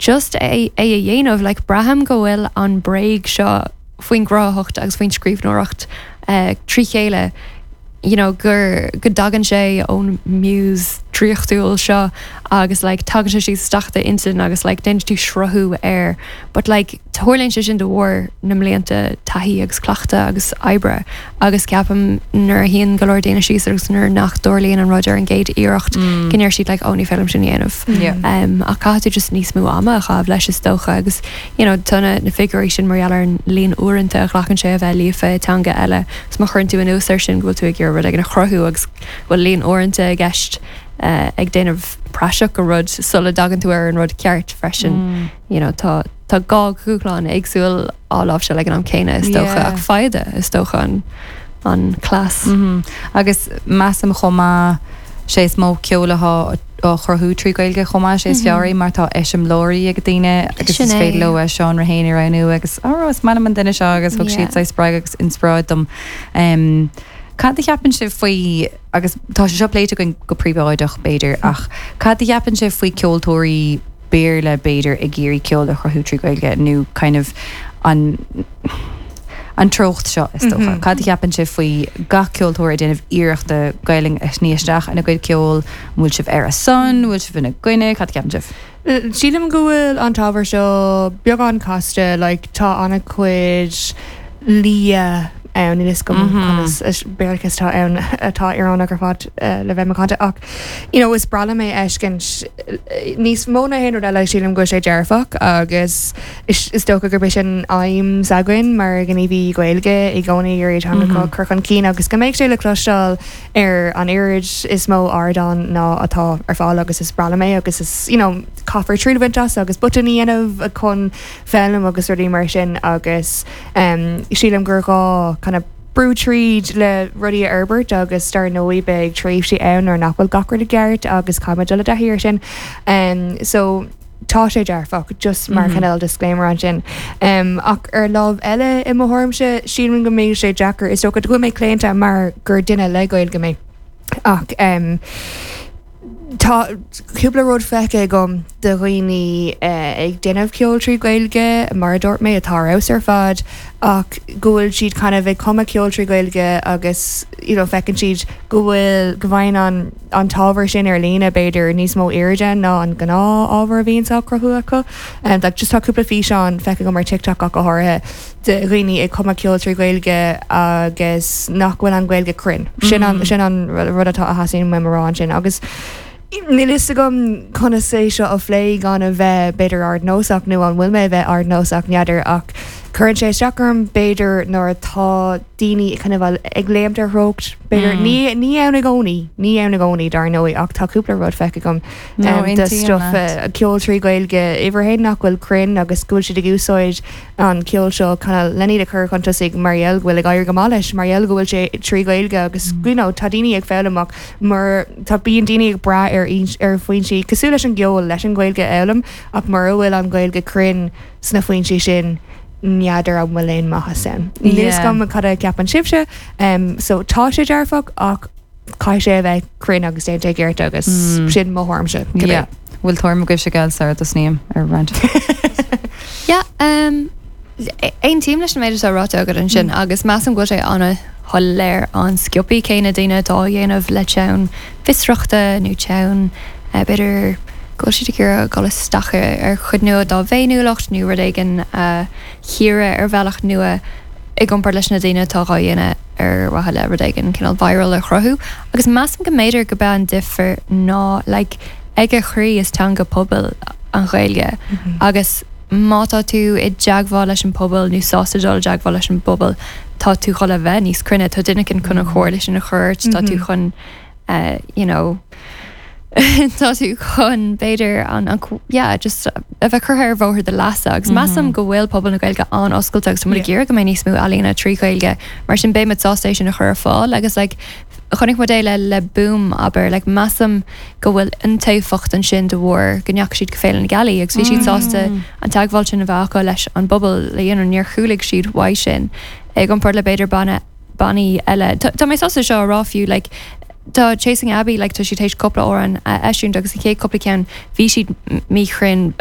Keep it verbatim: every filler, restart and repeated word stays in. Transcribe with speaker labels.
Speaker 1: Just é é a dhéanamh like braithim go bhfuil an bhréag seo faoin gcruthaitheacht agus faoin scríbhneoireacht uh, trí chéile you know, gur go dtagann sé ón muse draíochtúil seo agus like, tagann sé síos isteach d'intinn agus like, déanann tú sruthú air but like, tarlaíonn sé sin de bharr na mblianta taithí agus cleachtadh agus oibre agus ceapaim nuair a théann go leor daoine síos agus nuair nach dtarlaíonn an rud ar an gcéad iarracht mm. go ndeir siad like, ó ní féidir liom sin dhéanamh.
Speaker 2: Yeah.
Speaker 1: Um, ach caithfidh tú just níos mó ama a chaitheamh leis is dócha agus you know, tá na, na figiúirí sin mar ar an líon uaireanta a ghlacann sé a bheith líofa i teanga eile, 's má chuireann tú anuas air sin go bhfuil tú ag iarraidh rud éigin a chruthú agus bhfuil líon uaireanta i gceist uh, ag déanamh praiseach go rud sula dtagann tú ar an rud ceart freisin. Mm. You know, tá tá dhá dhúshlán éagsúil á láimhseáil ag an am céanna is dócha
Speaker 2: Yeah.
Speaker 1: ach foighid is dócha an an cleas.
Speaker 2: Mm -hmm. Agus measaim chomh maith sé is mó ceol atá á chruthú trí Gaeilge chomh maith sé is fearr mar tá eiseamláirí ag daoine agus
Speaker 1: Sin
Speaker 2: is
Speaker 1: é.
Speaker 2: féidir leo seánra féin a roghnú agus á is maith liom an duine seo agus thug
Speaker 1: Yeah.
Speaker 2: siad spreagadh agus inspioráid dom. Um, Cad a cheapann sibh faoi agus tá sé seo pléite againn go príobháideach b'fhéidir ach cad a cheapann sibh faoi ceoltóirí Béarla b'fhéidir ag iarraidh ceol a chruthú trí Gaeilge nó kind of an an treocht seo is dócha. Mm -hmm. Cad a cheapann sibh faoi gach ceoltóir ag déanamh iarrachta Gaeilge a shní isteach ina gcuid ceol bhfuil sibh ar a son, bhfuil sibh ina gcoinne, cad a cheapann sibh?
Speaker 3: Sílim go bhfuil an t-ábhar seo beagán casta like, tá an-chuid lia ann is go béarlachas tá ann atá íorónach ar fad uh, le bheith macánta ach you know, is breá liom é fheiscint níos mó ná haon rud eile sílim go sé dearfach agus is, is dócha gur sin aidhm s'againn mar gníomhaí Gaeilge i gcónaí ar teanga mm -hmm. chur chun cinn agus go mbeidh sé le cloisteáil ar an oiread is mó ardán ná atá ar fáil agus is breá liom é agus is you know, caithfear triail a bhaint as agus botúin a dhéanamh chun foghlaim agus rudaí mar sin agus um, sílim gur gá kind of brú tríd le rudaí a fhorbairt agus dar ndóigh beidh tréimhsí ann ar nach bhfuil gach rud i gceart agus caithfidh dul i dtaithí air sin. Um, so tá sé dearfach just mar mm -hmm. cineál disclaimer ansin. Um, ach ar lámh eile i mo thuairimse sílim go mbeidh sé deacair is dócha go mé claonta mar gur duine le Gaeilge mé. Ach um, Tá cúpla rud feicthe agam de dhaoine uh, ag déanamh ceol trí Gaeilge mar a dúirt mé atá ar ar fad ach go bhfuil siad kind of ag cumadh ceol trí Gaeilge agus you know, feiceann siad go bhfuil go bhfaigheann an an t-ábhar sin ar líne b'fhéidir níos mó airde ná an gnáth-ábhar a bhíonn á chruthú acu. Um, like, just tá cúpla físeán feicthe agam ar TikTok ach go háirithe de dhaoine ag cumadh ceol trí Gaeilge agus nach bhfuil an Ghaeilge cruinn. Sin an, sin an rud atá a theastaíonn uaim a rá ansin agus Níl fhios agam conas é seo a phlé gan a bheith b'fhéidir ardnósach nó an bhfuil mé a bheith ardnósach n'fheadar ach cuireann sé isteach orm b'fhéidir nuair atá daoine kind of ag léimt ar threocht b'fhéidir mm. ní ní ann i gcónaí ní ann i gcónaí dar ndóigh ach tá cúpla rud feicthe agam
Speaker 2: No,
Speaker 3: um, de
Speaker 2: aontaím
Speaker 3: stuff
Speaker 2: leat.
Speaker 3: uh, ceol trí Gaeilge uimhir a haon nach bhfuil cruinn agus go bhfuil siad ag úsáid an ceol seo kind of lena iad a chur chun tosaigh mar gheall go bhfuil ag éirí go maith leis mar gheall go bhfuil sé trí Gaeilge agus mm. you know, tá daoine ag foghlaim ach mar tá bíonn daoine ag brath ar ins- ar foinsí cosúil leis an gceol leis an Ghaeilge a fhoghlaim ach mura bhfuil an Ghaeilge cruinn sna foinsí sin n'fheadar an bhfuil aon maitheas ann. Níl
Speaker 2: Yeah.
Speaker 3: agam cad a cheapann sibhse um, so tá sé dearfach ach caithfidh sé a bheith cruinn agus déanta i gceart agus mm. sin mo thuairimse. cibé.
Speaker 2: Yeah. Bhfuil tuairim agaibh se gael sar dosníom ar rant.
Speaker 1: Yeah, um, aontaím leis an méid atá ráite agat ansin agus measaim go bhfuil sé an-shoiléir an-sciobtha cé na daoine atá á dhéanamh le teann fiosrachta nó teann uh, b'fhéidir go bhfuil siad ag iarraidh dul isteach ar ar chuid nua dá bhféiniúlacht nó rud éigin uh, chíoradh ar bhealach nua i gcomparáid leis na daoine atá á dhéanamh ar mhaithe le rud éigin cineál viral a chruthú agus measaim go mb'fhéidir go b'é an difear ná like, ag a chroí is teanga pobail an Ghaeilge agus má tá tú i dteagmháil leis an pobal nó sásta dul i dteagmháil leis an bpobal tá tú chun a bheith níos cruinne tá duine chun an chomhairle sin a chur ort tá tú chun uh, you know tá tú chun b'fhéidir an an yeah, just a bheith curtha ar bhóthar do leasa agus measaim go bhfuil pobal na Gaeilge an-oscailte agus tá
Speaker 3: Yeah.
Speaker 1: ag iarraidh go mbeidh níos mó ealaíona trí Ghaeilge mar sin beimid sásta é sin a chur ar fáil agus like, chonaic muid é le le boom aber like, measaim go bhfuil iontaofacht ansin de bharr go ndeachaigh siad go Féile na Gealaí agus bhí siad sásta an teagmháil sin a bheith acu leis an bpobal le you know, níor chúlaigh siad uaidh sin ag iompar le b'fhéidir banna bannaí eile. Tá tá mé sásta seo a rá fiú like, Tá Chasing Abbey like, tá siad théis cúpla amhrán a eisiúint agus an chéad cúpla ceann bhí siad míchruinn